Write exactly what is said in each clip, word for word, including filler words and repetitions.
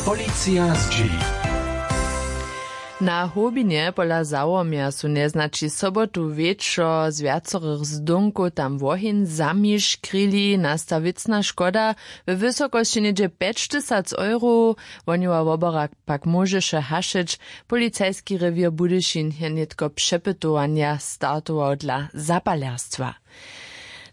Policija zdźěli. Na hłowbinje pola zawomja su njeznaći sobotu wječor z wjacorych zdónkow tam woheń zamiškrili. Nasta wěcna škoda we wysokosći něhdźe pjećtysac euro. Wohnjowa wobora pak móžeše hašeć. Policajski rewěr budyšin je nětko přepytowanja startował dla zapalerstwa.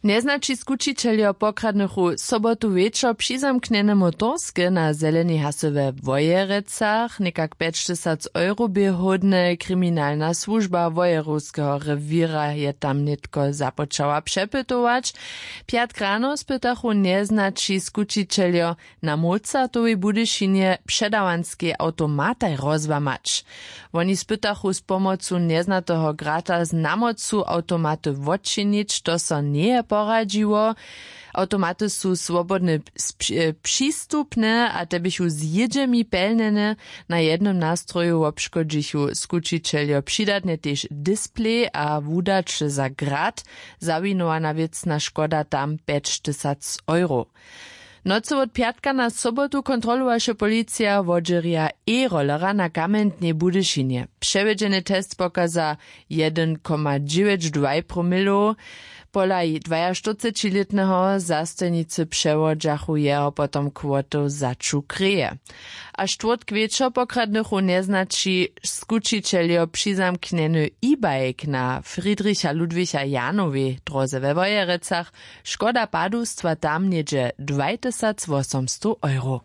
Njeznaći skućićeljo pokradnychu sobotu wječor přizamknjene motorske na zelenej hasy we wojerecach někak pjećtysac euro bě hódne. Kriminalna słužba wojerowskeho rewěra je tam nětko započała přepytować. Pjatk rano spytachu njeznaći skućićeljo na mozartowej budyšinje předawanskej awtomataj rozłamać. Woni spytachu z pomocu njeznateho grata z namocu awtomaty wotčinić, to so njeje poradźiło. Awtomaty su swobodnje spři- přistupne a te běchu z jědźemi pelnjene. Na jednym nastroju wobškodźichu skućićeljo přidatnje tež displej a wudaće za grat. Zawinowana wěcna škoda tam pjećtysac euro. Nocy wot pjatka na sobotu kontrolowaše policija wodźerja e-rollera na kamjentnej budyšinje. Přewjedźeny test pokaza jedyn koma dźewjeć dwaj promilow. Pola dwajaštyrcećilětneho zastojnicy přewodźachu jeho potom kwotow za ču kreje. A štwórtk wječor pokradnychu njeznaći skućićeljo přizamknjeny e-bike na friedricha ludwicha janowej dróze we wojerecach. Škoda padustwa tam něhdźe dwajtysacwosomstow euro.